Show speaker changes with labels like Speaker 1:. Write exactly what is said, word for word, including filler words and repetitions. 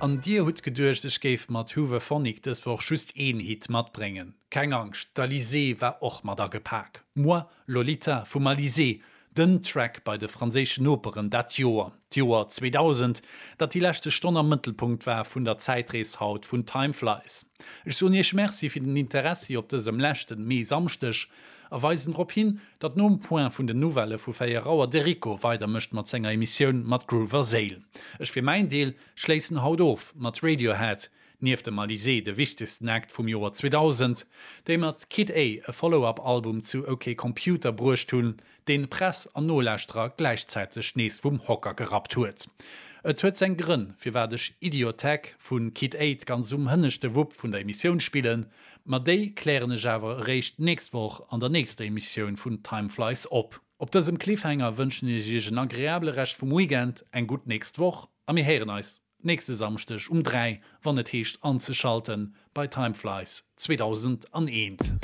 Speaker 1: An dir hutt geduecht, ech géif mat Hooverphonic dës Woch just een Hit matbréngen. Keng Angscht, d'Alizée war och mat agepak. Moi, Lolita vum Alizée, den Track bei de franséischen Noperen dat Joer, d'Joer zweedausend, dat déi leschte Stonn am Mëttelpunkt war vun der Zäitrees haut vun Time Flies. Ech soen Iech Merci fir den Interessi op dësem leschten Mee-Samschdeg a weisen drop hin, datt nom Point vun den Nouvellë vu véier Auer de Rico weidermécht mat senger Emissioun mat Groove a Séil. Ech fir mäin Deel schléissen haut of mat Radiohead, nieft dem Alizée de wichtegsten Act vum Joer zweedausend, déi mat Kid A e Follow-up-Album zu Ok Computer bruecht hunn, deen Press an Nolauschterer gläichzäiteg nees vum Hocker gerappt huet. Et huet seng Grënn, firwat ech Idioteque vu Kid A ganz um hënneschte Wupp vun der Emissioun spillen, ma déi klären ech awer eréischt d'nächst Woch an der nächster Emissioun vun Time Flies op. Op dësem Cliffhanger wënschen ech iech en agreabele Rescht vum Weekend, eng gutt nächst Woch a mir héieren eis nächste Samschdeg um dräi, wann et heescht anzeschalten bei Time Flies zweedausendaneent.